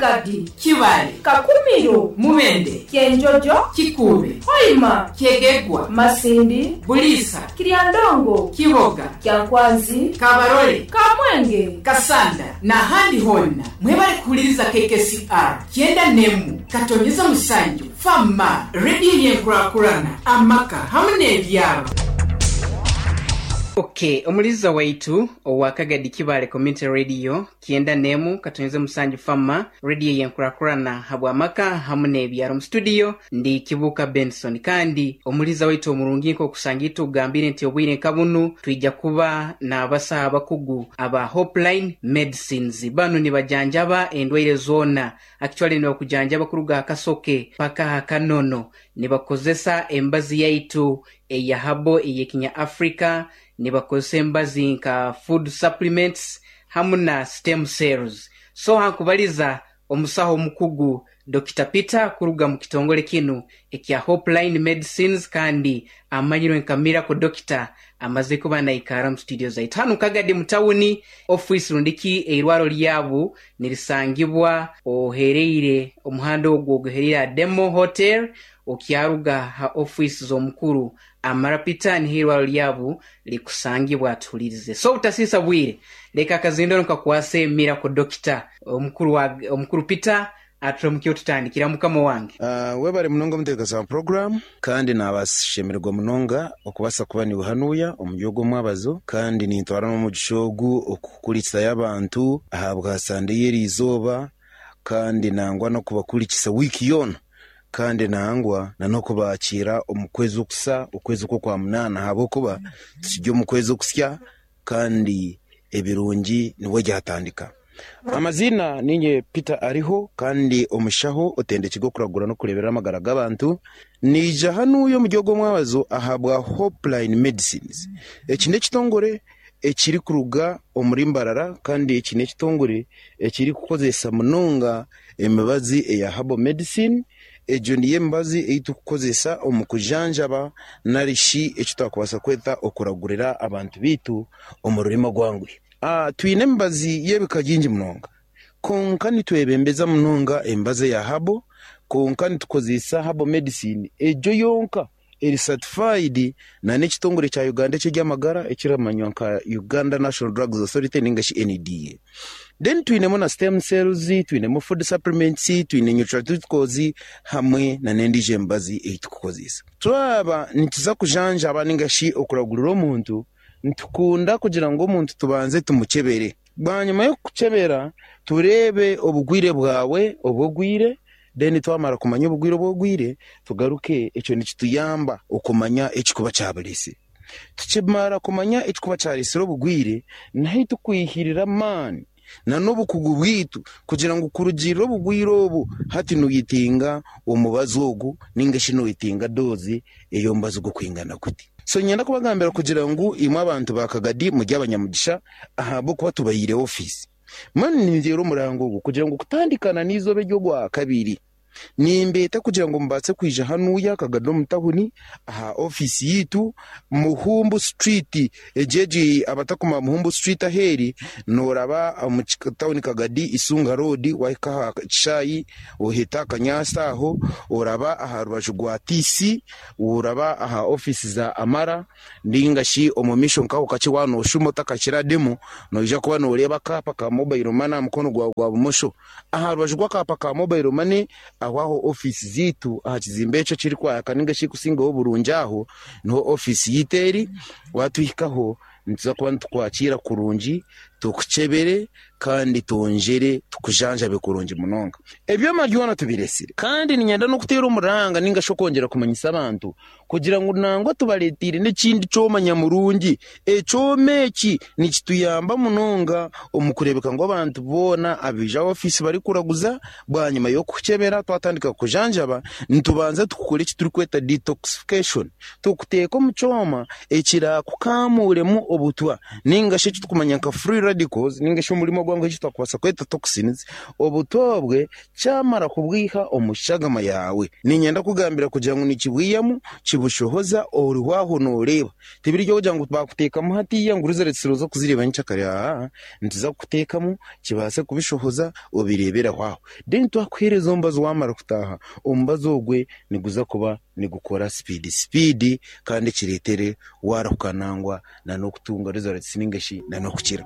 Kagadi, Kibaale, Kakumiro, Mubende, Kyenjojo, Kikuube, Hoima, Kyegegwa, Masindi, Buliisa, Kiryandongo, Kiboga, Kyankwanzi, Kabarole, Kamwenge, Kasanda n'ahandi hoona. Mwebale kuhuliriza KKCR 97.7 Fama, rediyo y'enkurakurana, amaka hamu n'ebyaro. Ok, omuliza waitu owa Kagadi Kibaale Community Radio 91.7 Fama, rediyo y'enkurakurana habw'amaka hamu n'ebyaro. Mu studio ndi Kibuuka Benson, kandi omuliza waitu omurungi nk'okusanga itugambire nti obwire nka bunu twija kuba n'abasaho abakugu aba Hopeline Medicines. Banu nibajanjaba endwaire zoona, actually nibakujanjaba kuruga aha kasoke paka aha kanono. Nibakozesa embazi yaitu eya habo ey'ekinya Africa, nibakozesa embazi nka food supplements hamu na stem cells. So hankubaliza omusaho omukugu Dr. Peter kuruga mu kitongole kinu ekya Hopeline Medicines, kandi amanyirwe nka Miracle Doctor, amaze kuba naikara mu studio zaitu hanu Kagadi mu tawuni office rundiki eirwaro lyabu nirisangibwa ohereire omuhanda ogwo oguhereire Ademo Hotel, okyaruga ha office z'omukuru Amara Peter, niho eirwaro lyabu likusangibwa. Atuhulirize. So obutasisa bwire, leka akazindaro nkakwase Miracle Doctor omukuru wa omukuru Peter aturamukiyo tutandikira. Mukama wange. Webare munonga omuteekateeka wa program, kandi nabashemererwa munonga okubaasa kuba niwe hanuya omuri ogwo omwabazo, kandi nintwara n'omugisha ogu okukurikizayo abantu ahabwa Sande y'eriizooba, kandi nangwa n'okubakurikisa wiiki yoona, kandi nangwa na n'okubakiira omu kwezi okusa, okwezi okw'Okwamunaana, ahabw'okuba tukiri omu kwezi okusya kandi ebirungi nibwo ryatandika. Amaziina niinye Peter Ariho, kandi omushaho otendekirwe okuragura n'okureeberera amagara g'abantu. Naija hanuya omuri ogwo omwabazo ahabwa Hopeline Medicines. Eki n'ekitongore ekirikuruga omuri Mbarara, kandi eki n'ekitongore ekirikukozesa munonga emibazi eya Herbal Medicine. Egyo niyo emibazi ei turikukozesa omu kujanjaba nari shi eki twakubaasa kweta okuragurira abantu baitu omu rurimi orwanguhi. Twine emibazi y'ebika bingi munonga, kwonka nitwebembeza munonga emibazi eya herbal, kwonka nitukozesa herbal medicine egyo yonka eri certified na n'ekitongore kya Uganda eky'eby'amagara ekiramanywa nka Uganda National Drugs Authority ninga shi NDA. Then twinemu na stem cells, twinemu food supplements, twine nutraceuticals hamwe na n'endiijo emibazi ei turikukozesa. Twaba nituza kujanjaba ninga shi okuragurira omuntu, nitukunda kugira ngu omuntu tubanze tumukyebere. Bwanyima y'okukukyebera, tureebe obugwire bwawe obu ogwire, then twamara kumanya obugwire obu ogwire, tugaruke ekyo nikituyamba okumanya ekikuba kyabureesire. Tukimara kumanya ekikuba kyareesire obugwire, niho tukwihirira amaani na n'obukugu bwaitu kugira ngu kurugiirira obugwire obu, hati noyetenga omubazi ogu ninga shi noyetenga doozi ey'omubazi gw'okwingana guti. So niinyenda kubagambira kugira ngu imwe abantu ba Kagadi muri abanyamugisha ahabw'okuba tubahaire ofiisi. Mbwenu ninteera omuranga ogu kugira ngu kutandikana n'eizooba ery'Orwakabiri, Nimbeeta kugira ngu mubaase kwija hanuya Kagadi omu tawuni aha ofiisi yaitu Muhumbu Street. Egyo egi abatakumanya Muhumbu Street ahu eri, nooraba omu tawuni Kagadi Isunga Road waahika aha kishaayi oheta aha kanyaatsi aho, oraba aha rubaju rwa TC, oraba aha ofiisi za Amara. Nainga shi omu maisho nk'aho kakye waaba nooshuma otakakira demo, noija kuba nooreeba akaapa ka mobile money aha mukono gwawe gwa bumosho. Aha rubaju rw'akaapa ka mobile money aho aho ofiisi zaitu aha kizimbe ekyo ekirikwaka nainga shi ekirikusingaho oburungi aho niho ofiisi yaitu eri. Waatuhikaho nituza kuba nitukwakiira kurungi, tukukyebere kandi twongyere tukujanjabe kurungi munonga. Ebyoma byona tubireetsire kandi niinyenda n'okuteera omuranga nainga shi okwongyera kumanyisa abantu Kugira ngu nangwa tubareeteire n'ekindi kyoma nyamurungi. Ekyoma eki nikituyamba munonga omu kureebeka ngu abantu boona abaija aha ofiisi barikuraguza, bwanyima y'okukukyebera twatandika kukujanjaba, nitubanza tukukora eki turikweta detoxification, tukuteeka omu kyoma ekiraakukaamuremu obutwa nainga shi eki turikumanya nka free radical. radicals ninga shi omurimo gwangu eki twakubaasa kweta toxins, obutwa obwe kyamara kubwiha omu shagama yaawe, niinyenda kugambira kugira ngu nikibwihamu kibushohoza oriho aho nooreeba. Tibiri by'okugira ngu baakuteekamu hatiiya ngu results oze kuzireeba nyenkyakare, aa, nituza kukuteekamu kibaase kubishohoza obireebere aho aho. Then twakuheereza omubazi waamara kutaaha, omubazi ogwe niguza kuba nigukora sipiidi sipiidi kandi kireetere waarahuka nangwa n'okutunga results ninga shi n'okukira.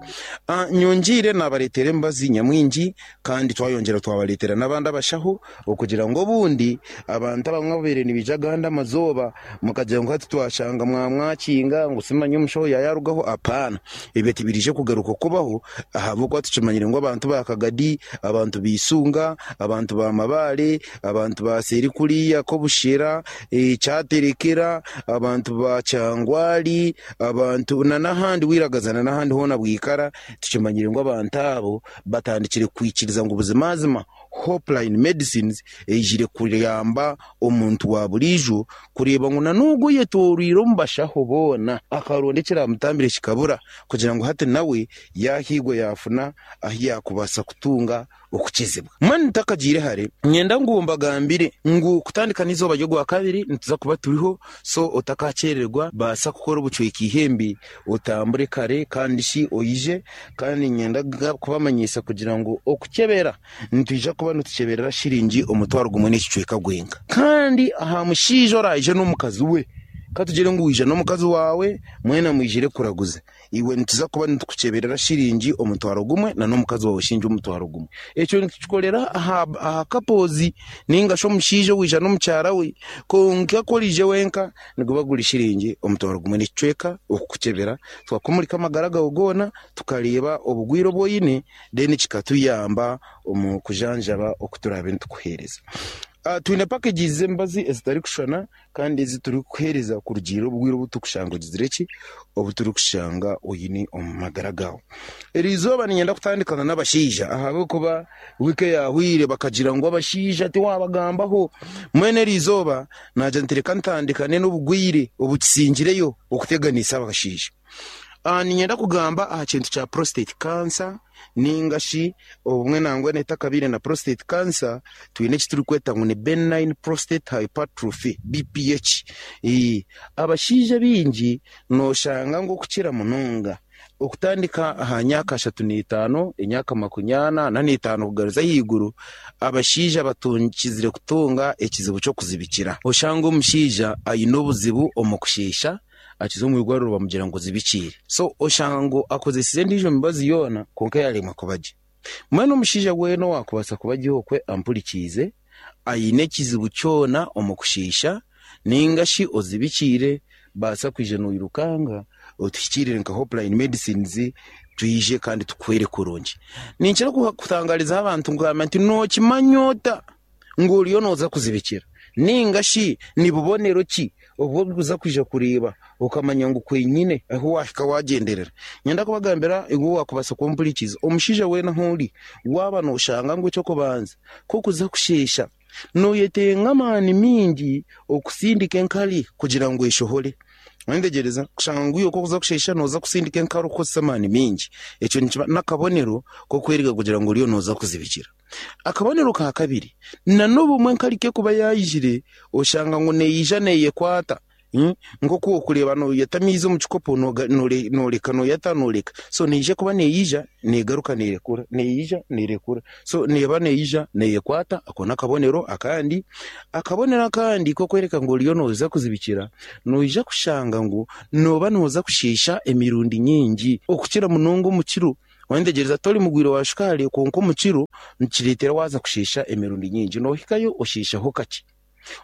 Nyongyeire naabareetera emibazi nyamwingi kandi twayongyera twabareetera n'abandi abashaho okugira ngu obundi abantu abamwe ababaire nibaija agandi amazooba mukagira ngu hati twashanga mwamwakinga ngu simanya omushaho yaayarugaho, apaana. Ebyo tibiriije kugaruka kubaho ahabw'okuba tukimanyire ngu abantu ba Kagadi, abantu ba Isunga, abantu ba Mabaare, abantu ba seeri kuriya Kobushera, Kyaterekera, abantu ba Kyangwali, abantu n'ahandi Wiragaza n'ahandi hoona Bwikara, tukimanyire ngu abantu abo batandikire kwikiriza ngu buzimazima Hopeline Medicines eijire kuyamba omuntu wa buriijo kureeba ngu n'ogwo oyetooroire omu bashaho boona akaronda ekiramutambire kikabura kugira ngu hati nawe yaahiigwa yaafuna ahu yaakubaasa kutunga okukizibwa. Mbwenu ntakagiire hare, niinyenda ngu mbagambire ngu kutandika n'eizooba ry'Ogwakabiri nituza kuba turiho, so otakaakyerererwa, baasa kukora obucweka eihembe otambure kare kandi shi oije. Kandi niinyenda kubamanyisa kugira ngu okukyebera nitwija kuba nitukyeberera shiringi 10,000 n'ekicweka gwenka. Kandi aha mushaija oraije n'omukazi we, ka tugire ngu waija n'omukazi waawe, mwena mwijire kuraguza. Iwe nituza kuba nitukukyeberera shiringi 10,000 na n'omukazi waawe shiringi 10,000. Ekyo nitukikorera aha couples ninga shi omushaija owaija n'omukyara we. Kwonka ku oraije wenka niguba guri shiringi 10,000 n'ekicweka okukukyebera, tukakumurika amagara gaawe goona, tukareeba obugwire obu oine, then kikatuyamba omu kujanjaba oku turaabe nitukuheereza. Twine packages z'emibazi ezitarikushushana kandi ezi turikukuheereza kurugiirira obwire obu turikushanga ogizire ki, obu turikushanga oine omu magara gaawe. Eri izooba niinyenda kutandikana n'abashaija ahabw'okuba wiiki eyaahweire bakagira ngu abashaija tiwaabagambaho. Mbwenu eri izooba naagira nti reka ntandikane n'obugwire obukisingireyo okuteganisa abashaija. Niinyenda kugamba aha kintu kya prostate cancer ninga shi obumwe nangwa etakabaire na prostate cancer, twine eki turikweta ngu ni benign prostate hypertrophy, BPH. Abashaija baingi nooshanga ngu okukira munonga okutandika aha myaka 35, emyaka 45 kugaruza ahaiguru, abashaija batukizire kutunga ekizibu ky'okuzibikira. Oshanga omushaija aine obuzibu omu kusheesha, akiza omu irwariro bamugira ngu ozibikiire. So oshanga ngu akozesize endiijo mibazi yoona kwonka yaaremwa kuba gye. Mbwenu omushaija weena owaakubaasa kuba gye okwe ampurikiize, aine ekizibu kyona omu kushiisha nainga shi ozibikiire, baasa kwija noirukanga otuhikiirire nka Hopeline Medicines twije kandi tukuhwere kurungi. Ninkira kutangaarizaho abantu ngamba nti nookimanya ota ngu oriyo nooza kuzibikira? Nainga shi ni bubonero ki obu orikuza kwija kureeba okamanya ngu kwenyine ahu waahika waagyenderera? Niinyenda kubagambira iwe owaakubaasa kumpurikiza, omushaija weena ahu ori, waaba nooshanga ngu eky'okubanza k'okuza kusheesha nooyetenga amaani maingi okusindika enkari kugira ngu eshohore. Wayetegyereza? Kushanga ngu iwe ku orikuza kusheesha nooza kusindika enkari orikukozesa amaani maingi, ekyo nikiba n'akabonero k'okwereka kugira ngu oriyo nooza kuzibikira. Akabonero ka kabiri, n'obumwe enkari ku erikuba yaijire oshanga ngu neija neeyekwata nk'oku orikureeba nooyata amaizi omu kikopo nooreka nooyata nooreka, so neija kuba neija neegaruka neerekura, neija neerekura, so neeba neija neeyekwata, ako n'akabonero akandi. Akabonero akandi k'okworeka ngu oriyo nooza kuzibikira, noija kushanga ngu nooba nooza kusheesha emirundi mingi okukira munonga omu kiro. Wayetegyereza tori mugwire wa shukaari kwonka omu kiro nikireetera waaza kusheesha emirundi nyingi. Noohikayo osheeshaho kakye,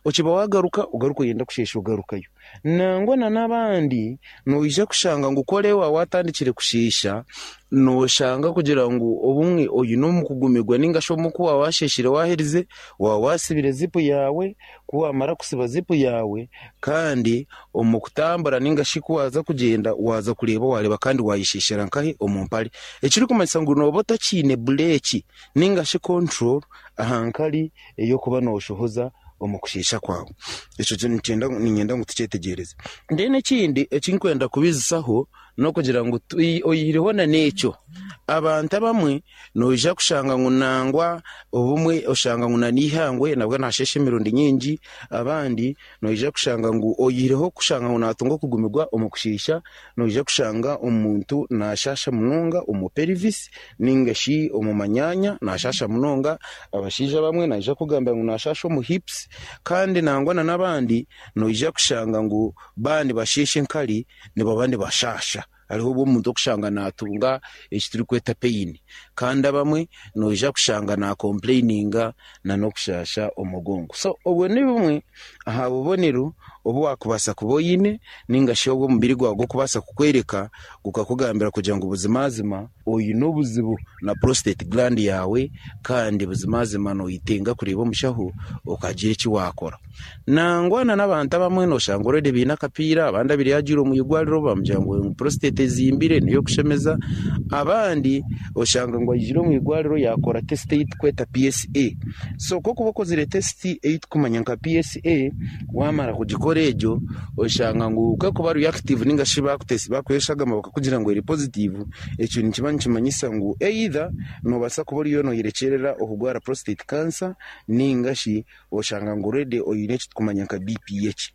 okiba waagaruka ogaruka oyenda kusheesha ogarukayo. Nangwa n'abandi noija kushanga ngu ku oreba waatandikire kusheesha, nooshanga kugira ngu obumwe oine omu kugumirwa nainga shi obumwe ku waaba waasheeshire waaherize, waaba waasibire zipu yaawe, ku waamara kusiba zipu yaawe kandi omu kutambura nainga shi ku waaza kugyenda waaza kureeba waareeba kandi waayesheeshera nkahi omu mpare. Ekirikumanyisa ngu nooba otakiine bureeki nainga shi control aha nkari ey'okuba nooshohoza omu kusheesha kwawe. Ekyo niinyenda ngu tukyetegyereze. Then ekindi eki ndikwenda kubiijusaho. N'okugira ngu oyihireho na n'ekyo, abantu abamwe noija kushanga ngu nangwa obumwe oshanga ngu na n'eihangwe nabwo naasheesha emirundi nyingi, abandi noija kushanga ngu oyihireho kushanga ngu naatunga okugumirwa omu kusheesha, noija kushanga omuntu naashaasha munonga omu pelvis ninga shi omu manyaanya naashaasha munonga, abashaija abamwe naija kukugambira ngu naashaasha omu hips kandi nangwa na n'abandi noija kushanga ngu baaba nibasheesha enkari nibaba nibashaasha. Hariho obu omuntu orikushanga naatunga eki turikweta pain kandi abamwe noija kushanga naakompureyininga n'okushaasha omugongo. So obwo ni bumwe aha bubonero obu waakubaasa kuba oine ninga shi obu omubiri gwawe gurikubaasa kukworeka gukakugambira kugira ngu buzimazima oine obuzibu na prostate gland yaawe kandi buzimazima noyetenga kureeba omushaho okagira eki waakora. Nangwa n'abantu abamwe noshanga already baine akapiira, abandi abaire yaagiire omu irwariro bamugira ngu prostate ezimbire n'ey'okushemeza, abandi oshanga ngu aijire omu irwariro yaakora test ei turikweta PSA. So ku orikuba okozire test ei turikumanya nka PSA, waamara kugikora egyo, oshanga ngu ku erikuba reactive ninga shi baakuha eshagama bakakugira ngu eri positive, ekyo nikiba nikimanyisa ngu either noobaasa kuba oriyo nooyerekyerera okurwara prostate cancer ninga shi oshanga ngu already oine eki turikumanya nka BPH.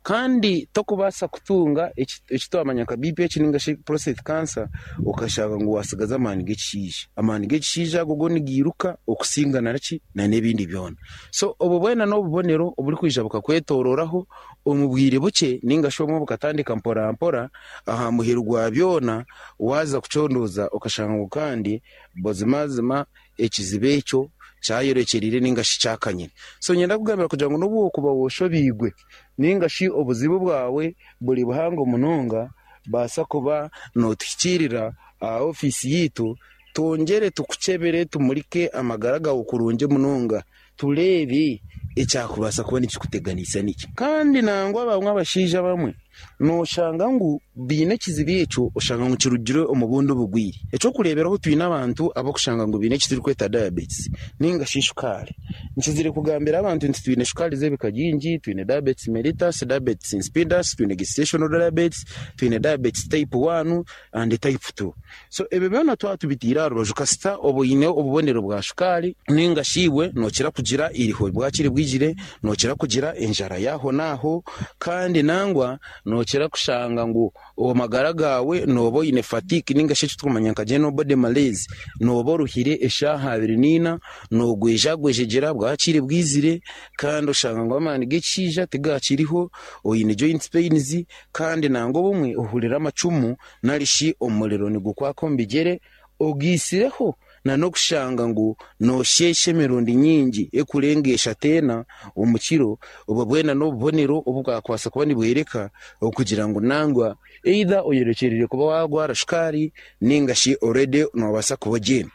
Kandi torikubaasa kutunga eki twamanya nka BPH ninga shi prostate cancer okashanga ngu watsigaza amaani g'ekishaija. Amaani g'ekishaija ago go nigairuka okusinga naki n'ebindi byona. So obwo bwena n'obubonero oburikwija bukakwetororaho omu bwire bukye ninga shi obumwe bukatandika mpora mpora, aha muheru gwa byona waaza kucondooza okashanga ngu kandi buzimazima ekizibu ekyo kyayorekyereire ninga shi kyakanyire. So niinyenda kukugambira kugira ngu n'obu orikuba oshobeirwe ninga shi obuzibu bwawe buri buhango munonga, baasa kuba nootuhikiirira aha ofiisi yaitu twongyere tukukyebere tumurike amagara gaawe kurungi munonga tureebe ekyakubaasa kuba nikikuteganisa niki. Kandi nangwa bamwe abashaija abamwe nooshanga ngu baine ekizibu ekyo oshanga ngu kirugire omu bundi bugwire. Eky'okureeberaho twine abantu abarikushanga ngu baine eki turikweta diabetes ninga shi shukaari. Nkizire kugambira abantu nti twine shukaari z'ebika bingi, twine diabetes mellitus, diabetes insipidus, twine gestational diabetes, twine diabetes type 1 and type 2. So ebyo byona twaba tubiteire aha rubaju kasita oba oine obubonero bwa shukaari ninga shi iwe nookira kugira eiriho bwakiri bwigire, nookira kugira enjara y'ahonaaho kandi nangwa nookira kushanga ngu amagara gaawe nooba oine fatigue ninga shi eki turikumanya nka general body malaise, nooba oruhire eshaaha abiri n'eina, noogwejagwejegyera bwakiri bwizire kandi oshanga ngu amaani g'ekishaija tigakiriho, oine joint pains kandi nangwa obumwe ohurira amacumu nari shi omuriro nigukwaka omu bigyere, ogaitsireho n'okushanga ngu noosheesha emirundi mingi erikurenga eshatu ena omu kiro, obwo bwena n'obubonero obu bwakubaasa kuba nibworeka okugira ngu nangwa either oyorekyereire kuba waarwara shukaari ninga shi already noobaasa kuba ogiine.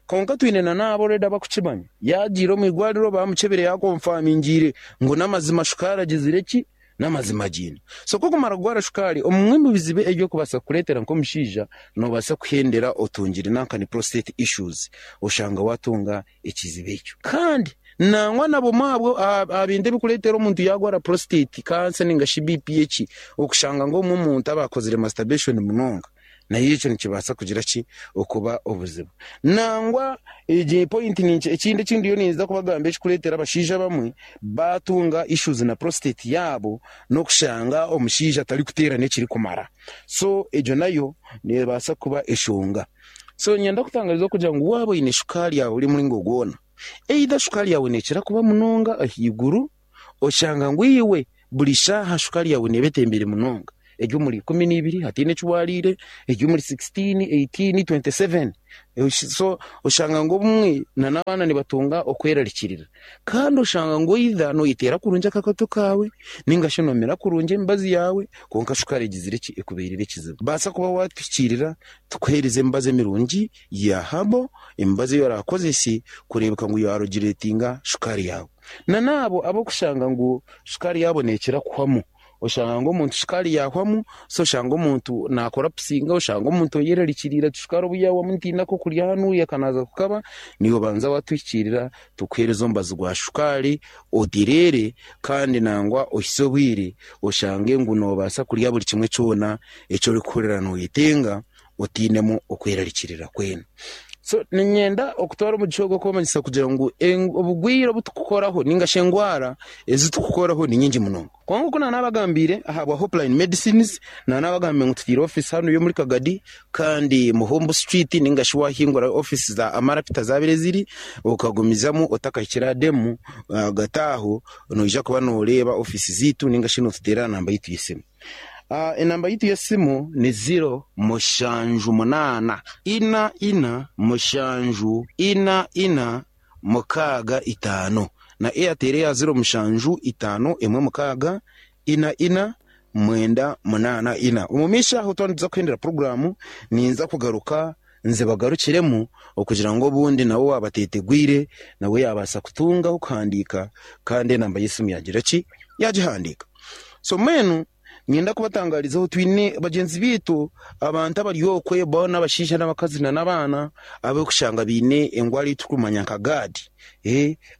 Kwonka twine n'abo already abarikukimanya, yaagiire omu irwariro baamukyebire yaakonfamingiire ngu n'amazima shukaari agizire ki? N'amazima agiine. So ku okumara kugwara shukaari, omumwe omu bizibu eby'okubaasa kukureetera nk'omushaija, noobaasa kuhendera otungire nanka ni prostate issues, oshanga waatunga ekizibu ekyo. Kandi nangwa na bumwe aha bintu ebirikureetera omuntu yaagwara prostate cancer ninga shi BPH, okushanga ngu obumwe omuntu aba akozire masturbation munonga. Nayo ekyo nikibaasa kugira ki? Okuba obuzibu. Nangwa egi point ninkye, ekindi eki ndiyo ninza kubagambira ekirikureetera abashaija abamwe baatunga issues na prostate yaabo n'okushanga omushaija atarikuteerana ekirikumara. So egyo nayo neebaasa kuba eshonga. So niinyenda kutangariza okugira ngu waaba oine shukaari yawe ori muringo gwona, either shukaari yaawe neekira kuba munonga ahaiguru, Oshanga ngu iwe buri shaaha shukaari yaawe neeba etembire munonga, eri omuri 12 hataine eki waariire, eri omuri 16, 18, 27. So oshanga ngu obumwe n'abaana nibatunga okwerarikirira. Kandi oshanga ngu either noyeteera kurungi akakato kaawe ninga shi nomira kurungi emibazi yaawe kwonka shukaari egizire ki? Ekubeirire ekizibu. Baasa kuba waatuhikiirira tukuheereze emibazi emirungi ya herbal, emibazi ei oraakozese kureebeka ngu yaarogireetinga shukaari yaawe. Na n'abo abarikushanga ngu shukaari yaabo neekira kuhwamu. Oshanga ngu omuntu shukaari yahwamu, so oshanga omuntu nakorapusinga, oshanga omuntu oyerarikiriire ati shukaari obu yahwamu ntiine akokurya hanuya kanaza kukaba, niiwe obanza watuhikiirira tukuheereza omubazi gwa shukaari otereere kandi nangwa ohitsye obwire oshange ngu noobaasa kurya buri kimwe kyona eki orikuhurira nooyetenga otiinemu okwerarikirira kwena. So niinyenda okutwara omugisha ogu okwemanyisa kugira ngu obugwire obu turikukoraho ninga shi engwara ezi turikukoraho ni nyingi munonga. Kwonka oku naanabagambiire ahabwa Hopeline Medicines, naanabagambiire ngu tutaire ofiisi hanuya omuri Kagadi kandi Muhumbu Street ninga shi waahingura ofiisi za Amara Peter zaabaire ziri, okagumizamu otakahikire aha demu ahagati aho noija kuba nooreeba ofiisi zaitu ninga shi nootuteera aha namba yaitu y'esimu. Enamba yaitu y'esimu ni ziro mushanju munaana ina ina mushanju ina ina mukaaga itaano na Airtel eya 07 5 1 6 4 4 9 8 4. Omu maisho aho twaba nituza kuhendera puroguraamu ninza kugaruka nzibagarukiremu okugira ngu obundi nawe waaba ateetegwire nawe yaabaasa kutunga ah'okuhandiika kandi enamba y'esimu yaagira ki? Yaagihandiika. So mbwenu Niinyenda kubatangaarizaho twine bagyenzi baitu abantu abari okwe boona abashaija n'abakazi n'abaana abarikushanga baine endwara ei turikumanya nka GERD,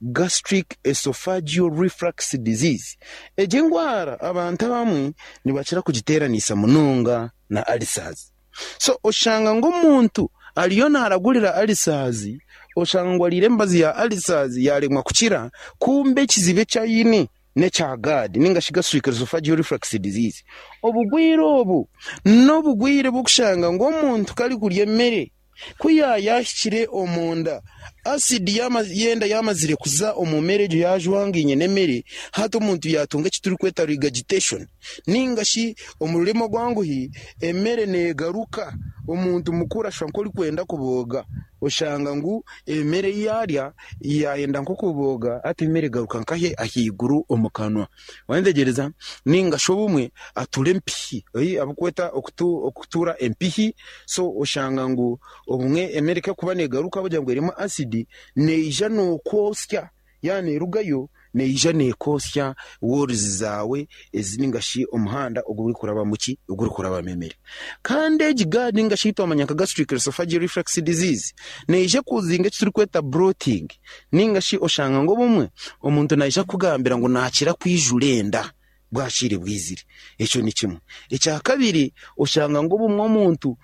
Gastric Esophageal Reflux Disease. Egi endwara abantu abamwe nibakira kugiteeranisa munonga na ulcers. So oshanga ngu omuntu ariyo naaragurira ulcers, oshanga ngu ariire emibazi ya ulcers yaaremwa kukira, kumbe ekizibu eki aine n'ekya GERD ninga shi Gastric Esophageal Reflux Disease. Obugwire obu n'obugwire bw'okushanga ngu omuntu ku arikurya emere, ku yaayahikire omunda, asidi y'enda yaamazire kuza omu mere egyo yaajwangaine n'emere, hati omuntu yaatunga eki turikweta regurgitation ninga shi omu rurimi orwanguhi emere neegaruka omuntu mukuru ashusha nk'orikwenda kubooga. Oshanga ngu emere ei yaarya yaayenda nk'okubooga hati emere egaruka nkahi ahaiguru omu kanwa. Waayetegyereza? Nainga shi obumwe atura empihi, abu kweta okutura empihi, so oshanga ngu obumwe emere ku erikuba neegaruka ahabw'okugira ngu erimu asidi, neija nookwotsya, yaaba neerugayo neija neekwotsya walls zaawe ezi nainga shi omuhanda ogurikurabamu ki? Ogurikurabamu emere. Kandi egi GERD nainga shi ei twamanya nka Gastric Esophageal Reflux Disease neija ekuzinga eki turikweta bloating nainga shi oshanga ngu obumwe omuntu naija kukugambira ngu naakira kwijura enda bwakiire bwizire. Ekyo ni kimwe. Ekya kabiri oshanga ngu obumwe omuntu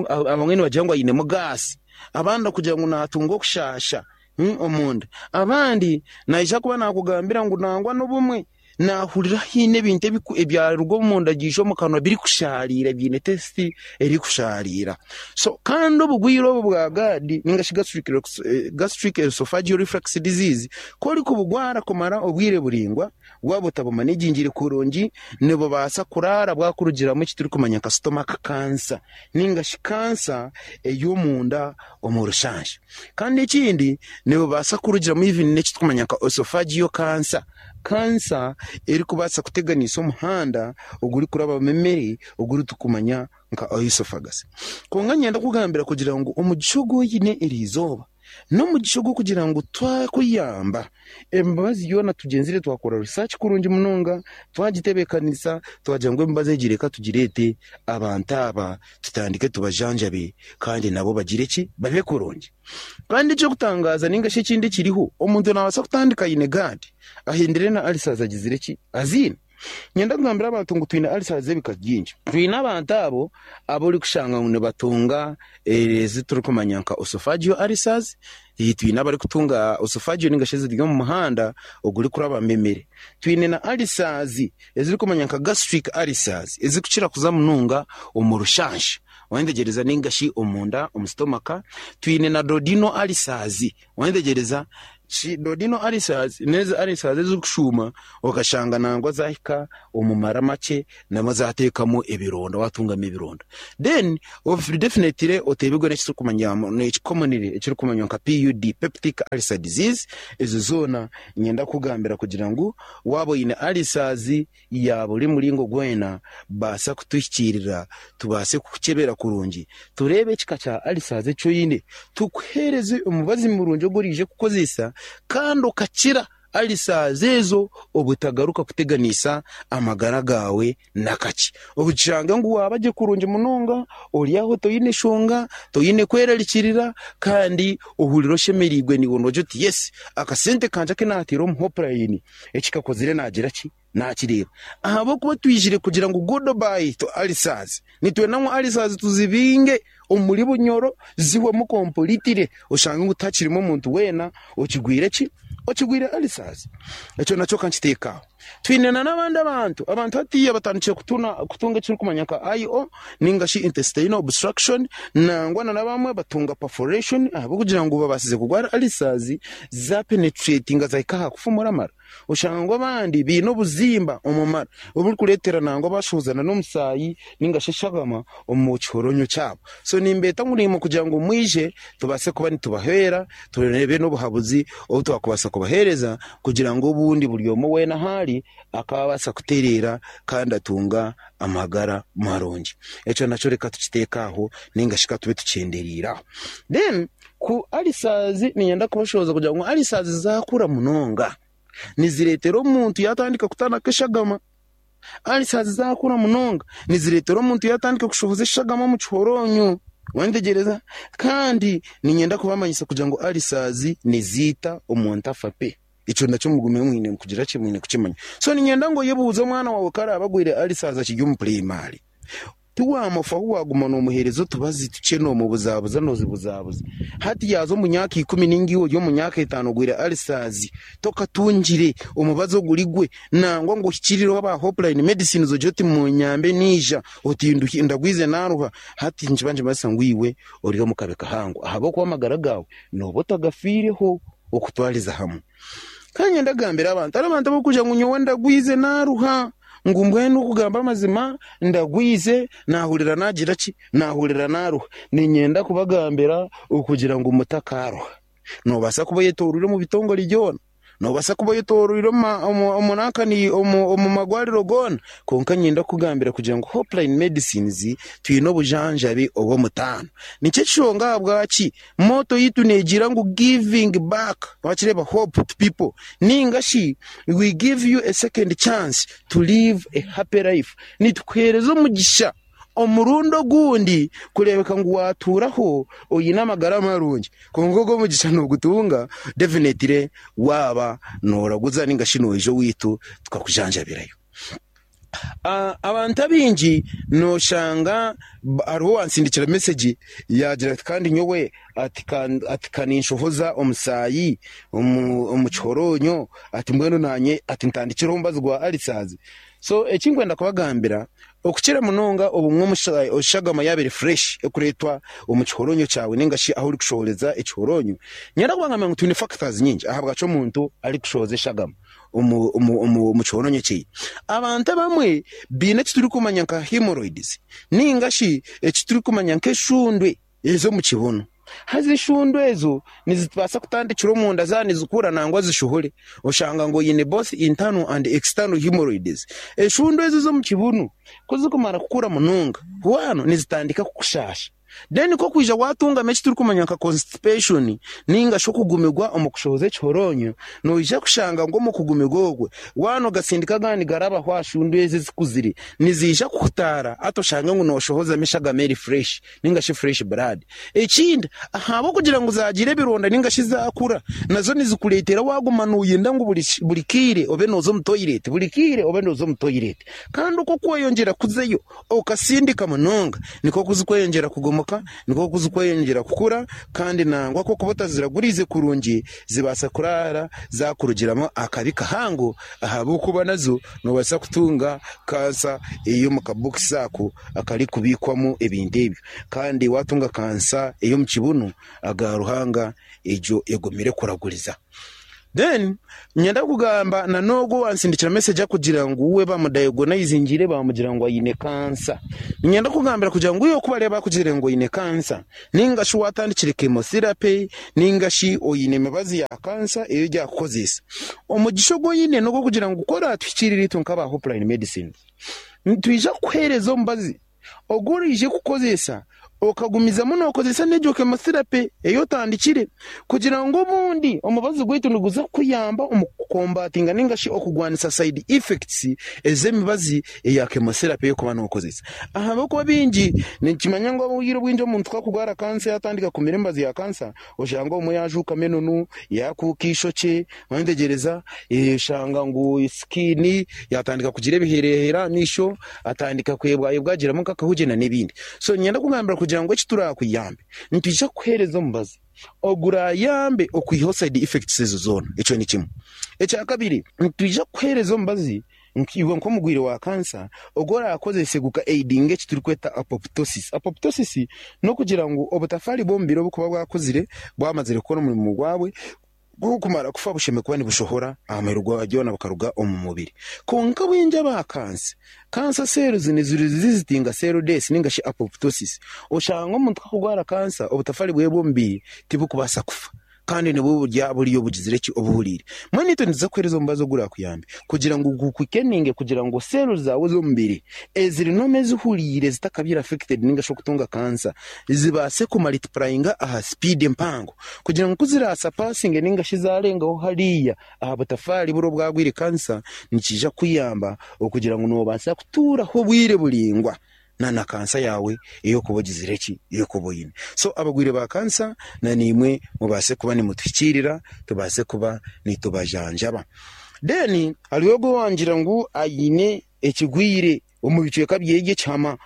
abamwe nibagira ngu ainemu gaasi abandi kugira ngu naatunga okushaasha omunda. Abandi naija kuba naakugambira ngu nangwa n'obumwe naahurira haine ebintu ebyaruga omunda byaija omu kanwa birikushaariira biine tesiti erikushaariira. So kandi obugwire obu bwa GERD ninga shi Gastric Esophageal Reflux Disease ku orikubugwara kumara obwire buraingwa, waaba otabumanegingire kurungi nibubaasa kuraara bwakurugiramu eki turikumanya nka stomach cancer ninga shi kansa ey'omunda omu rushansha. Kandi ekindi nibubaasa kurugiramu even n'eki turikumanya nka esophageal cancer, kansa erikubaasa kuteganisa omuhanda ogurikurabamu emere oguri turikumanya nka oesophagus. Kwonka niinyenda kukugambira kugira ngu omugisha ogu oine eriizooba n'omugisha ogw'okugira ngu twakuyamba emibazi yoona tugyenzire twakora research kurungi munonga twagitebeekanisa twagira ngu emibazi egi reka tugireete abantu aba tutandike tubajanjabe kandi nabo bagire ki? Babe kurungi. Kandi eky'okutangaaza nainga shi ekindi ekiriho, omuntu naabaasa kutandika aine GERD ahindire na ulcers agizire ki? Aziine. Niinyenda kugambira abantu ngu twine ulcers z'ebika bingi. Twine abantu abo abu orikushanga ngu nibatunga ezi turikumanya nka esophageal ulcers, twine abarikutunga esophageal nainga shi eziri omu muhanda ogurikurabamu emere. Twine na ulcers ezirikumanywa nka gastric ulcers ezirikukira kuza munonga omu rushansha wayetegyereza ninga shi omunda omu stomach. Twine na duodenal ulcers wayetegyereza shi duodenal ulcers n'ezi ulcers ezirikushuuma okashanga nangwa zahika omu mara makye nabwo zateekamu ebironda watungamu ebironda. Then definitely oteebirwe n'ekiturikumanya commonly ekirikumanywa nka PUD, peptic ulcer disease, ezo zoona Niinyenda kukugambira kugira ngu waaba oine ulcers ya buri muringo gwena, baasa kutuhikiirira tubaase kukukyebera kurungi, tureebe ekika kya ulcers eki oine, tukuheereze omubazi murungi ogu oraije kukozesa kandi okakira. Ulcers ezo obutagaruka kuteganisa amagara gaawe nakakye. Obukishange ngu waaba gye kurungi munonga, ori aho toine shonga, toine kwerarikirira kandi ohurira oshemereirwe naiwe noogira oti yes, akasente kangye aku naateire omu Hopeline eki kakozire naagira ki? Naakireeba. Ahabw'okuba twijire kugira ngu goodbye to ulcers. Nitwenda ngu ulcers tuzibinge omuri Bunyoro zihwemu completely oshange ngu tihakirimu omuntu weena okigwire ki? Okigwire ulcers. Ekyo nakyo ka nkiteeke aho. Twine na n'abandi abantu, abantu hatiiya batandikire kutuna kutunga ekirikumanywa nka IO ninga shi intestinal obstruction nangwa na n'abamwe batunga perforation ahabw'okugira ngu babaasize kurwara ulcers za penetratinga zahika aha kufumura amara. Oshanga ngu abandi baine obuzimba omu mara oburikureetera nangwa baashohozana n'omusaayi ninga shi eshagama omu kihoronyo kyabo. So nimbeeta ngu naimwe kugira ngu mwije tubaase kuba nitubahwera tureebe n'obuhabuzi obu twakubaasa kubaheereza kugira ngu obundi buri omwe weena ahu ari akaabaasa kutereera kandi atunga amagara marungi. Ekyo nakyo reka tukiteeke aho ninga shi ka tube tukyendereire aho. Then ku ulcers niinyenda kubashoboza kugira ngu ulcers zaakura munonga nizireetera omuntu yaatandika kutanaka eshagama. Ulcers zaakura munonga nizireetera omuntu yaatandika kushohoza eshagama omu kihoronyo. Wantegyereza? Kandi niinyenda kubamanyisa kugira ngu ulcers niziita omuntu afa pe. Ekyo nakyo mugume mwine kugira ki? Mwine kukimanya. So niinyenda ngu oyebuuze omwana waawe ku araabe agwire ulcers akiri omu purayimari. Tiwaamufaho waaguma noomuheereza otubazi tukye noomubuzabuza noozibuzabuza. Hati yaaza omu myaka ikumi nainga iwe ori omu myaka etaano ogwire ulcers, tokatungire omubazi oguri gwe nangwa ngu ohikirireho aba Hopeline Medicines ogire oti munyambe naija, oti ndagwize naaruha. Hati nikiba nikimanyisa ngu iwe ori omu kabi kahango ahabw'okuba amagara gaawe nooba otagafiireho okutwariza hamwe. Kandi niinyenda kugambira abantu, hariho abantu abarikugira ngu nyowe ndagwize naaruha. Ngu mbwenu okugamba amazima ndagwize naahurira naagira ki? Naahurira naaruha. Niinyenda kubagambira okugira ngu mutakaaruha. Noobaasa kuba oyetooroire omu bitongore byona, noobaasa kuba oyetooroire omu nankani omu marwariro goona, kwonka niinyenda kukugambira kugira ngu Hopeline Medicines twine obujanjabi obw'omutaano. Nikyo ekishonga ahabwaki Motto yaitu neegira ngu Giving back, wakireeba, hope to people, ninga shi We give you a second chance to live a happy life, nitukuheereza omugisha omurundi ogundi kureebeka ngu waatuuraho oine amagara marungi. Kwonka ogwo omugisha noogutunga definitely waaba nooraguza ninga shi noija owaitu tukakujanjabirayo. Abantu abaingi noshanga hariho owansindikira mesegi yaagira ati kandi nyowe ati ka ninshohoza omusaayi omu kihoronyo ati mbwenu naanye ati ntandikireho omubazi gwa ulcers. So eki ndikwenda kubagambira okukira munonga obumwe eshagama yaaba eri fresh erikureetwa omu kihoronyo kyawe ninga shi ahu orikushohoreza ekihoronyo, niinyenda kubagambira ngu twine factors nyingi ahabwaki omuntu arikushohoza eshagama. omu kihoronyo kye. Abantu abamwe baine eki turikumanya nka hemorrhoids ninga shi eki turikumanya nk'eshundwe ez'omu kibunu. Haza eshundwe ezo nizibaasa kutandikira omunda zaaba nizikura nangwa zishohore oshanga ngu oine both internal and external hemorrhoids. Eshundwe ezo ez'omu kibunu ku zirikumara kukura munonga, bwanu nizitandika kukushaasha. Then ku okwija watungamu eki turikumanya nka constipation ninga shi okugumirwa omu kushohoza ekihoronyo, noija kushanga ngu omu kugumirwa okwe, waaba nogasindika agandi garabaho aha shundu ezi ezikuzire, niziija kuhutaara hati oshange ngu noshohozamu eshagama eri fresh ninga shi fresh blood. Ekindi, ahabw'okugira ngu zagira ebironda ninga shi zakura, nazo nizikureetera waguma noyenda ngu buri kaire obe noza omu toilet, buri kaire obe noza omu toilet. Kandi oku okweyongyera kuzayo, Okasindika munonga, nikwo kuzikweyongyera kugomoka, nikwo kuzikweyongyera kukura, kandi nangwa ku okuba otaziraguriize kurungi, zibaasa kuraara zaakurugiramu akabi kahango ahabw'okuba nazo noobaasa kutunga kansa ey'omu kabokisi ako akarikubiikwamu ebintu ebyo. Kandi waatunga kansa ey'omu kibunu, aga Ruhanga egyo egumire kuraguriza. Then nyenda kugamba na n'ogwo owansindikira message akugira ngu we bamudayogonayizingire bamugira ngu aine kansa. Niinyenda kukugambira kugira ngu iwe ku bareba bakugire ngu oine kansa ninga shi watandikire chemotherapy ninga shi oine emibazi ya kansa ei orya kukozesa, omugisha ogu oine n'ogw'okugira ngu ku oratuhikiirire itwe nk'aba Hopeline Medicines, nitwija kukuheereza omubazi Ogu oraije kukozesa okagumizamu nokozesa n'egyo chemotherapy ei otandikire kugira ngu obundi omubazi gwaitu niguza kukuyamba omu Okukombatinga ninga shi okugwanisa side effects ez'emibazi eya chemotherapy ey'okuba nokozesa. Ahabw'okuba bingi nikimanya ngu obwire obwingi omuntu ku akugwara kansa yatandika kumira emibazi ya kansa oshanga obumwe yajuukamu enonu, yakuuka eishokye, wayetegyereza oshanga ngu skin yatandika kugira ebiherehere aha maisho, atandika kwebwayebwa agiramu nk'akahugye n'ebindi. So niinyenda kugambira kugira ngu eki turakuyambe nitwija kukuheereza omubazi ogurayambe okwihaho side effects ezo zoona. Ekyo ni kimwe. Ekyakabiri, nitwija kukuheereza omubazi iwe nk'omurwaire wa kansa ogu orakozese guka aidinga eki turikweta apoptosis. Apoptosis n'okugira ngu obutafaari bw'omubiri oburikuba bwakuzire bwamazire kukora omurimo gwabwe burikumara kufa bushemereire kuba nibushohora aha muheru gwa byona bukaruga omu mubiri. Kwonka bwingi aba kansa, kansa cells nizirezizitinga cell death ninga shi apoptosis. Oshanga omuntu ku arikugwara kansa obutafaari bwe bw'omubiri tiburikubaasa kufa kandi nibwo burya buriyo bugizire ki obuhuriire. Mbwenu itwe nituza kukuheereza omubazi ogurakuyambe kugira ngu gukwikeninge kugira ngu cells zaawe ez'omubiri eziri normal ezihuriire zitakabaire affected ninga shi okutunga kansa zibaase kumultiplyinga aha speed empango kugira ngu ku zirasurpassinge ninga shi zarengaho hariya aha butafaari buri obwagwire kansa nikiija kukuyamba okugira ngu noobaasa kutuuraho obwire buraingwa na na kansa yaawe ey'okuba ogizire ki ey'okuba oine. So abagwire ba kansa na naimwe mubaase kuba nimutuhikiirira tubaase kuba nitubajanjaba. Then hariho ogwo owangira ngu aine ekigwire omu bicweka byeye by'ekihama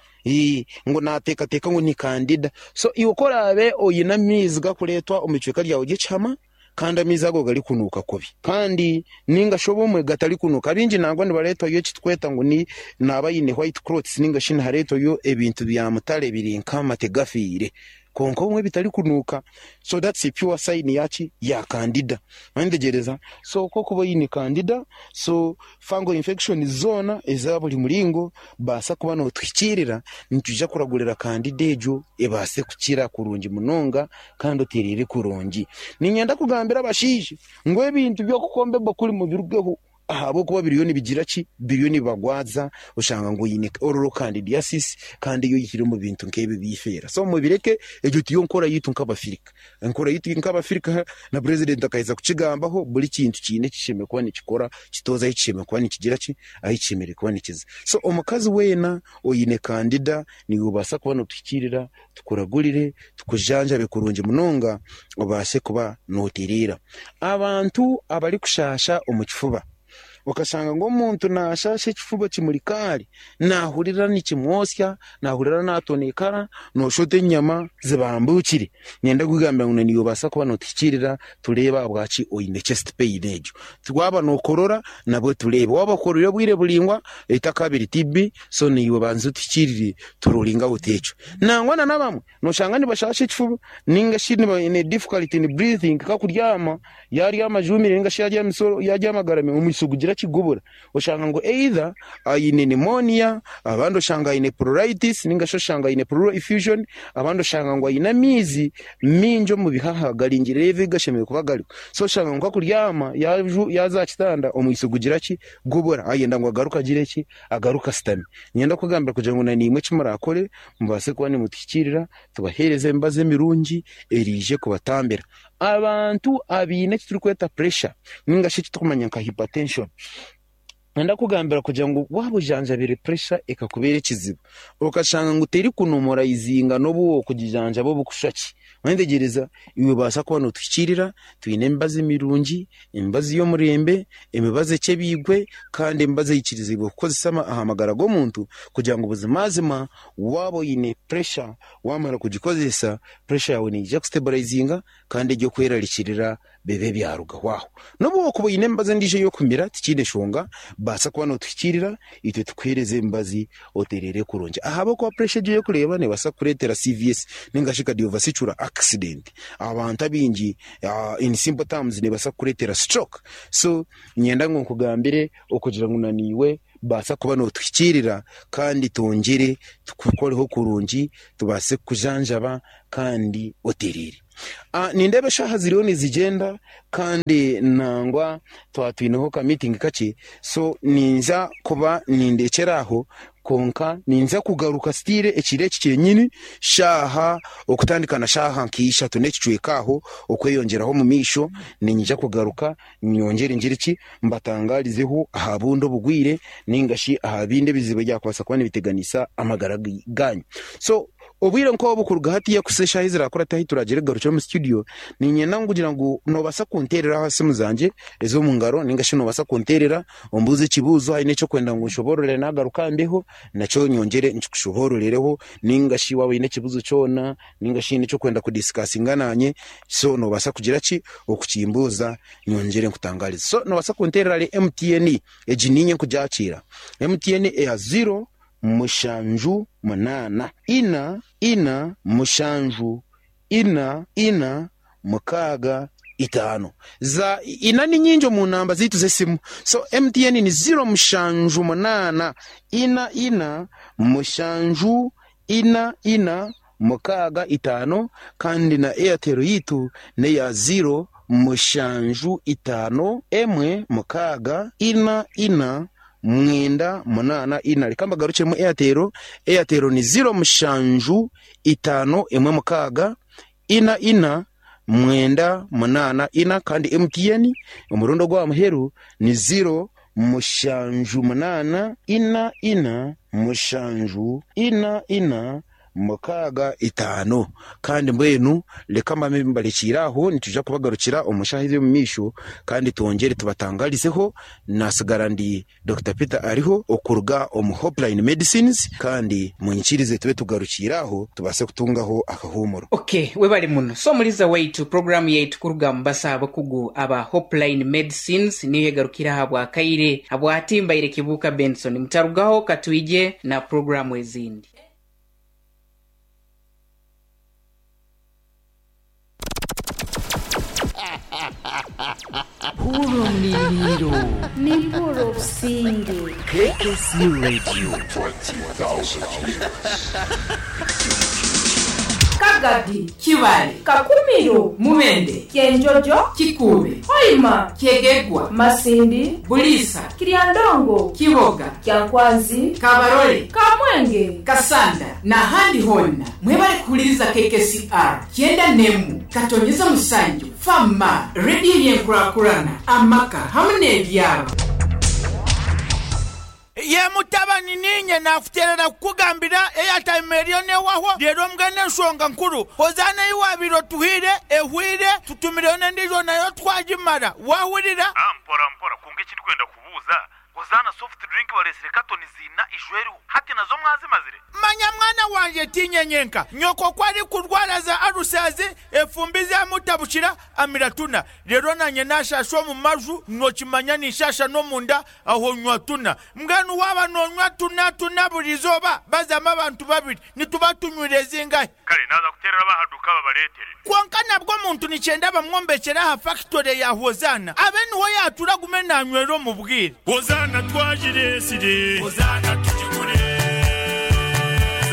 ngu naateekateeka ngu ni kandida. So iwe ku oraabe oine amaizi garikureetwa omu bicweka byawe by'ekihama kandi amaizi ago garikunuuka kubi kandi ninga shi obumwe gatarikunuuka, abaingi nangwa nibareetwayo eki turikweta ngu ni naaba aine white clots ninga shi nihareetwayo ebintu bya mutare biri nk'amate gafiire kwonka obumwe bitarikunuuka. So that's a pure sign yaki? Ya kandida. Wayetegyereza? So ku orikuba oine kandida, so fungal infections zoona eza buri muringo baasa kuba nootuhikiirira, nitwija kuragurira kandida egyo ebaase kukira kurungi munonga kandi otereere kurungi. Niinyenda kugambira abashaija ngu ebintu by'okukomba ebakuri mubirugeho ahabw'okuba biriyo nibigira ki? Biriyo nibibagwaza oshanga ngu oine oral candidiasis kandi ei oyihire omu bintu nk'ebi eby'eifeera. So mubireke, egyo tiyo nkora yaitu nk'Abafirika. Enkora yaitu nk'Abafirika na purezidenti akaheza kukigambaho, buri kintu kiine eki kishemereire kuba nikikora, kitooza ahu kishemereire kuba nikigira ki, ahu kishemereire kuba nikiza. So omukazi weena oine kandida niiwe obaasa kuba nootuhikiirira, tukuragurire, tukujanjabe kurungi munonga obaase kuba nootereera. Abantu abarikushaasha omu kifuba, okashanga ngu omuntu naashaasha ekifuba kimuri kaari, naahurira nikimwotsya, naahurira naatonekara, nooshusha oti enyama zibambuukire. Niinyenda kukugambira ngu naiwe obaasa kuba nootuhikiirira tureebe ahabwaki oine chest pain egyo. Waaba nookorora nabwo tureebe, waaba okororire obwire buraingwa etakabire TB, so naiwe banza otuhikiirire turulinge out ekyo. Nangwa na n'abamwe Noshanga nibashaasha ekifuba ninga shi baine difficulty in breathing nkakuryama yaryama ajumire ninga shi yaryama agaramire omwitsyo gugira ki gubura oshanga ngu either aine pneumonia abandi oshanga aine pleuritis ninga shi oshanga aine pleural effusion abandi oshanga ngu aine amaizi maingi omu bihaha garingire level ei gashemereire kuba gariho so oshanga ngu nkakuryama yaaza aha kitanda omwitsyo gugira ki gubura ayenda ngu agaruke agire ki agaruke ashutame. Niinyenda kukugambira kugira ngu naimwe eki murakore Mubaase kuba nimutuhikiirira tubaheereze emibazi emirungi eraije kubatambira. Abantu abaine eki turikweta pressure ninga shi eki turikumanya nka hypertension, niinyenda kukugambira kugira ngu waaba ojanjabire pressure ekakubeera ekizibu, okashanga ngu terikunomoraizinga n'obu wookugijanjaba obukushusha ki, Waayetegyereza? Iwe baasa kuba nootuhikiirira, twine emibazi mirungi, emibazi y'omurembe, emibazi ekyebiirwe, kandi emibazi eikiriziibwe kukozesa aha magara g'omuntu kugira ngu buzimazima waaba oine puresha waamara kugikozesa, puresha yaawe neija kusiteburayizinga kandi eby'okwerarikirira bibe byarugaho aho. N'obu waakuba oine emibazi endiijo ey'okumira tikiine nshonga, baasa kuba nootuhikiirira itwe tukuheereze emibazi otereere kurungi. Ahabw'okuba puresha egyo ei orikureeba neebaasa kukureetera CVS nainga shi cardiovascular accident. Abantu abaingi in simple terms neebaasa kukureetera stroke. So niinyenda ngu nkugambire okugira ngu naiwe baasa kuba nootuhikiirira kandi twongyere tukukoreho kurungi tubaase kukujanjaba kandi otereere. Nindeeba eshaaha ziriyo nizigyenda kandi nangwa twaba twineho ka meeting kakye so ninza kuba nindekyera aho. Kwonka ninza kugaruka still ekiro eki kyenyini shaaha okutandika na shaaha nka ishatu n'ekicweka aho okweyongyeraho omu maisho niinyija kugaruka nyongyere ngire ki mbatangarizeho aha bundi obugwire ninga shi aha bindi ebizibu ebyakubaasa kuba nibiteganisa amagara gaanyu. So obwire nk'obu kuruga hatiiya kuhitsya eshaaha ezirakurate ahu turagyere kugarukira omu studio niinyenda kugira ngu noobaasa kunteerera aha simu zangye ez'omu ngaro ninga shi noobaasa kunteerera Ombuuze ekibuuzo haine eki orikwenda ngu nshoboorore naagaruka mbeho nakyo nyongyere nkikushobororereho nainga shi waaba oine ekibuuzo kyona nainga shi haine eki orikwenda kudisikasinga naanye so noobaasa kugira ki okukimbuuza nyongyere nkutangaarize. So noobaasa kunteerera ahari MTN egi niinye nkugyakiira. MTN eya ziro mushanju munaana ina ina mushanju ina, ina, mukaaga, itaano. Za ina ni nyingi omu namba zaitu z'esimu. So MTN ni ziro mushanju munaana, ina, ina, mushanju, ina, ina, mukaaga, itaano. Kandi na Airtel yaitu n'eya ziro mushanju itaano, emwe, mukaaga, ina, ina, mwenda, munaana, ina. Reka mbagarukyemu Airtel. Airtel ni ziro mushanju itaano emwe mukaaga ina ina mwenda munaana ina kandi MTN omurundi ogw'aha muheru ni ziro mushanju munaana ina ina mushanju ina ina mukaaga itaano. Kandi mbwenu reka mbabe mbarekiire aho nitwija kubagarukira omu shaaha ez'omu maisho kandi twongyere tubatangarizeho. Naatsigara ndi Dokita Peter Ariho okuruga omu Hopeline Medicines kandi munyikirize tube tugarukiire aho tubaase kutungaho akahuumuro. Ok, webale muno. So omuliza waitu, puroguramu yaitu kuruga omu basaho abakugu aba Hopeline Medicines niyo egarukire aha bwakaire. Habwati mbaire Kibuuka Benson. Mutarugaho katwije na puroguramu ezindi. Hurra omu Nimpurra obusinge. KKC Radio. Kagadi, Kibale, Kakumiro, Mubende, Kyenjojo, Kikuube, Hoima, Kyegegwa, Masindi, Buliisa, Kiryandongo, Kiboga, Kyankwanzi, Kabarole, Kamwenge, Kasanda n'ahandi hoona. Mwebale kuhuliriza KKCR kyenda n'emu katonyeza musanju fama rediyo y'enkurakurana amaka hamu n'ebyaro. Ye mutabani niinye naakuteerera kukugambira eyatayimu eriyo neehwaho reero mbwenu enshonga nkuru hozaana ei waabaire otuhaire ehweire tutumireyo n'endiijo nayo twagimara waahurira? Ah mpora mpora kwonka eki ndikwenda kubuuza hozaana soft drink bareetsire katoni ziina ijo eriho hati nazo mwazimazire? Manya mwana wangye tiinye nyenka nyoko ku arikurwara za alusazi efumbi zamutabukira amira tuna reero nanye nashasha omu maju nokimanya ninshasha n'omunda aho nywa tuna. Mbwenu waaba nonywa tuna tuna buri izooba bazamu abantu babiri nituba tunywire zingahi? Kare naaza kuteerera ab'aha duuka babareetere. Kwonka nabwo omuntu nikyenda bamwombekyere aha fakitore ya Hozaana abe niho yaatura agume naanywera omu bwire. Hozaana twagireetsire. Hozaana tugigure.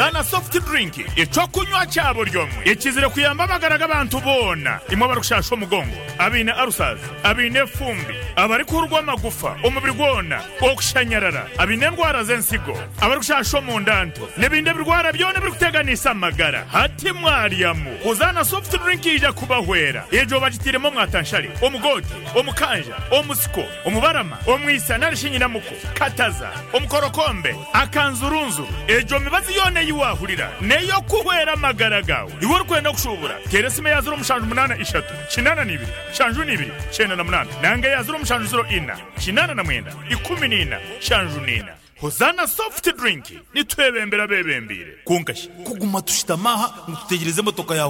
Zaana soft drink eky'okunywa kya buri omwe ekizire kuyamba amagara g'abantu boona imwe abarikushasha omugongo, abaine ulcers, abaine efumbi, abarikuhurwa amagufa omubiri gwona, okushanyarara, abaine endwara z'ensigo, abarikushasha omunda nto n'ebindi ebirwara byona ebirikuteganisa amagara. Hati mwaryamu Hozaana soft drink yaija kubahwera. Egyo bagitairemu omwatanshare, omugoote, omukanja, omusiko, omubarama, omwisa nari shi nyinamuko, kataza, omukorokombe, akanzurunzuru. Egyo mibazi yoona ei waahurira n'ey'okuhwera amagara gaawe. Iwe orikwenda kushuubura, teera esimu eya ziro mushanju munaana ishatu, kinaana na ibiri, nshanju na ibiri, kyenda na munaana nanga eya ziro mushanju ziro ina, kinaana na mwenda, ikumi na ina, nshanju na ina. Hozaana Soft Drink, nitwebembera abeebembeire. Kwonka shi Kuguma tushutami aha ngu tutegyereze emotoka ya.